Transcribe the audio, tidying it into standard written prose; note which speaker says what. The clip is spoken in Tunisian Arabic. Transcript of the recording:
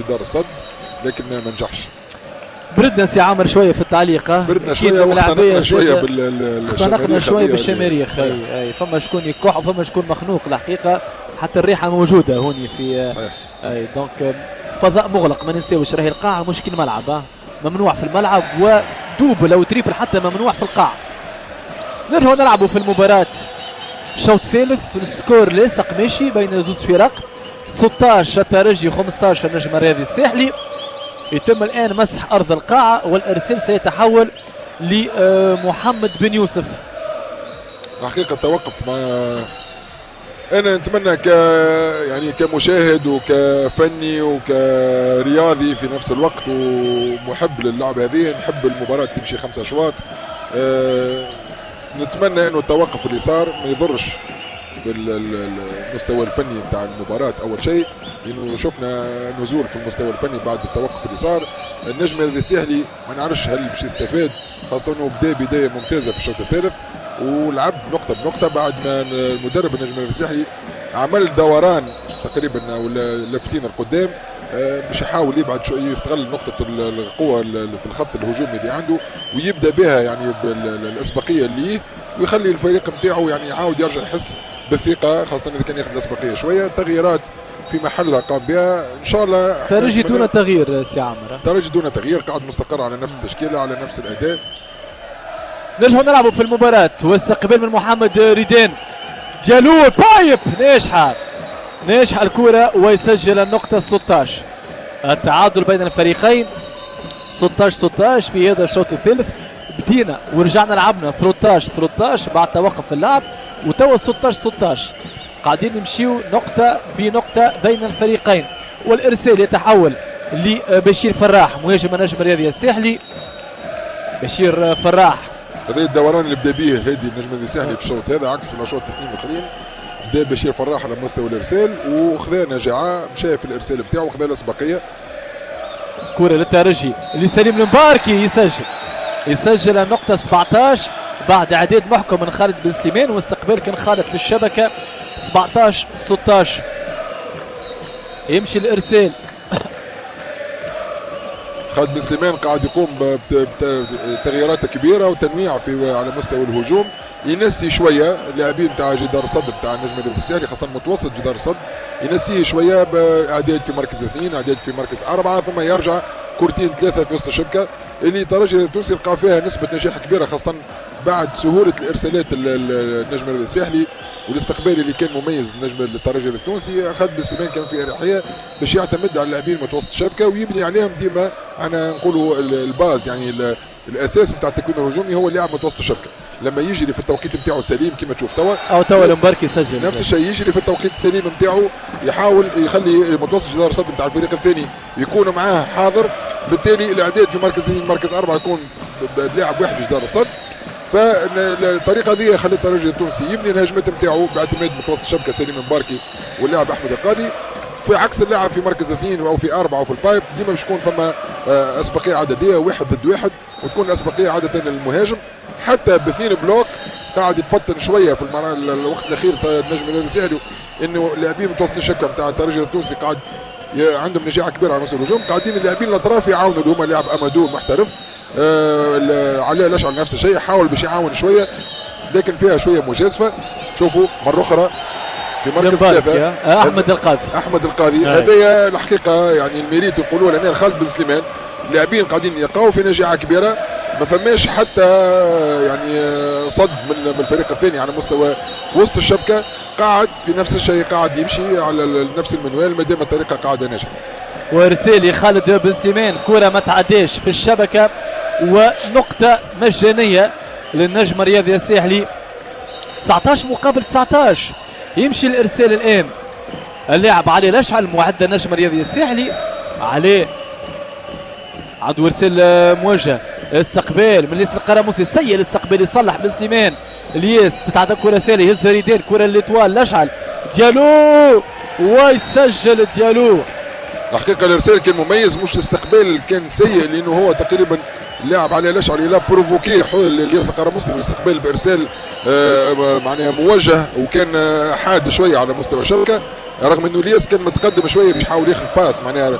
Speaker 1: جدار الصد، لكن ما نجحش.
Speaker 2: بردنا سي عامر شوية في التعليق.
Speaker 1: بردنا شوية واختنقنا شوية.
Speaker 2: اختنقنا شوية بالشماريخ. اي فما شكون يكح وفما شكون مخنوق الحقيقه، حتى الريحة موجودة هوني في.
Speaker 1: صحيح.
Speaker 2: اي donc فضاء مغلق، ما ننساوش راهي القاعة مش كي الملعب، ممنوع في الملعب و double او triple حتى ممنوع في القاعة. نرجعوا نلعبوا في المباراة الشوط الثالث، ال score لاصق ماشي بين زوز فرق، 16 الترجي 15 النجم الرياضي الساحلي. يتم الآن مسح أرض القاعة والإرسال سيتحول لمحمد بن يوسف.
Speaker 1: الحقيقة توقف، ما أنا نتمنى يعني كمشاهد وكفني وكرياضي في نفس الوقت ومحب للعبة هذه، نحب المباراة تمشي 5 أشواط. نتمنى أنه التوقف اللي صار ما يضرش بالمستوى الفني بتاع المباراة. أول شيء لأنه شفنا نزول في المستوى الفني بعد التوقف اللي صار. النجم الساحلي ما نعرفش هل باش يستفاد، خاصة أنه بدا بداية ممتازة في الشوط الثالث ولعب نقطة بنقطة بعد ما المدرب النجم الساحلي عمل دوران تقريبا ولا لفتين القدام باش يحاول يبعد شوية، يستغل نقطة القوة في الخط الهجومي اللي عنده ويبدا بها يعني بالاسبقية اللي ويخلي الفريق نتاعو يعني يعاود يرجع يحس بالثقة، خاصة إذا كان ياخذ الأسبقية شوية. تغييرات في محلها قام بها إن شاء الله.
Speaker 2: ترجي دون تغيير سي عمر،
Speaker 1: ترجي دون تغيير، قاعد مستقر على نفس التشكيلة على نفس الأداء.
Speaker 2: نرجعوا نلعبوا في المباراة واستقبال من محمد ريدان، ديالو pipe ناجحة، ناجحة الكرة ويسجل النقطة 16. التعادل بين الفريقين 16-16 في هذا الشوط الثالث. بدينا ورجعنا لعبنا 13-13 بعد توقف اللعب، وتوا 16-16 قاعدين نمشيو نقطة بنقطة بين الفريقين. والإرسال يتحول لبشير فراح مهاجم النجم الرياضي الساحلي. بشير فراح
Speaker 1: هذا الدوران اللي بدا به الهادي النجم الساحلي في الشوط هذا عكس الاشواط الاثنين الاخرين. بدا بشير فراح على مستوى الارسال وخذا نجاعه، مشى في الارسال بتاعه وخذا الاسبقيه.
Speaker 2: كرة للترجي لسليم المباركي، يسجل النقطة 17 بعد اعداد محكم من خالد بن سليمان واستقبال كان خالد للشبكة. 17-16 يمشي الارسال.
Speaker 1: خالد بن سليمان قاعد يقوم بتغييرات كبيرة وتنويع في على مستوى الهجوم، ينسي شوية اللاعبين تاع جدار الصد تاع النجم الساحلي، خاصة متوسط جدار الصد ينسيه شوية باعداد في مركز 2، اعداد في مركز 4، ثم يرجع كورتين 3 في وسط الشبكة اللي ترجي التونسي لقى فيها نسبه نجاح كبيرة، خاصة بعد سهولة الارسالات النجم الساحلي والاستقبال اللي كان مميز النجم الترجي التونسي. خالد بن سليمان كان في اريحية باش يعتمد على اللاعبين متوسط الشبكة ويبني عليهم ديما. انا نقولوا ال base يعني الاساس نتاع التكوين الهجومي هو اللاعب متوسط الشبكة، لما يجري في التوقيت نتاعو سليم كما تشوف توا،
Speaker 2: او توا المباركي يسجل
Speaker 1: نفس الشيء، يجري في التوقيت السليم نتاعو، يحاول يخلي متوسط جدار الصد نتاع الفريق الثاني يكون معاه حاضر، بالتالي الاعداد في مركز 2 مركز 4 يكون بلاعب واحد في جدار الصد. فالطريقه هذه خلت الترجي التونسي يبني الهجمات نتاعو باعتماد متوسط الشبكة سليم مباركي واللاعب احمد القاضي، في عكس اللاعب في مركز 2 او في 4 او في ال pipe ديما باش يكون فما اسبقيه عددية 1 ضد 1، وتكون الاسبقيه عادة للمهاجم. حتى باثنين bloc قاعد يتفطن شوية في الوقت الاخير النجم النادي الساحلي انه اللاعبين متوسط الشبكة نتاع الترجي التونسي قاعد عندهم نجاعه كبيرة على مستوى الهجوم، قاعدين اللاعبين الاطراف يعاونوا اللي هما لاعب امادو المحترف، علاء الاشعل نفس الشيء حاول باش يعاون شوية لكن فيها شوية مجازفة. شوفوا مرة اخرى في مركز 3
Speaker 2: احمد القاضي،
Speaker 1: احمد القاضي هذايا الحقيقة يعني ال mérite نقولوا لنا خالد بن سليمان، اللاعبين قاعدين يلقاو في نجاعه كبيرة، ما فماش حتى يعني صد من الفريق الثاني على مستوى وسط الشبكة، قاعد في نفس الشيء قاعد يمشي على نفس المنوال ما دام الطريقة قاعدة ناجحة.
Speaker 2: وارسالي خالد بن سليمان كره ما تعداش في الشبكة ونقطة مجانية للنجم الرياضي الساحلي. 19 مقابل 19 يمشي الارسال الان اللاعب علي الاشعل معد النجم الرياضي الساحلي. علي عنده ارسال موجه، استقبال من الياس القرموسي، سيء الاستقبال يصلح بن سليمان، الياس تتعدى كره سالي يهزها ريدان، كره l'Étoile الاشعل ديالو ويسجل ديالو.
Speaker 1: الحقيقة الارسال كان مميز، مش الاستقبال كان سيء لانه هو تقريبا اللاعب علي الاشعل il a provoqué الياس القرموسي في الاستقبال بارسال معناها موجه وكان حاد شوية على مستوى الشبكة، رغم انه الياس كان متقدم شوية باش يحاول ياخذ passe معناها ياخذ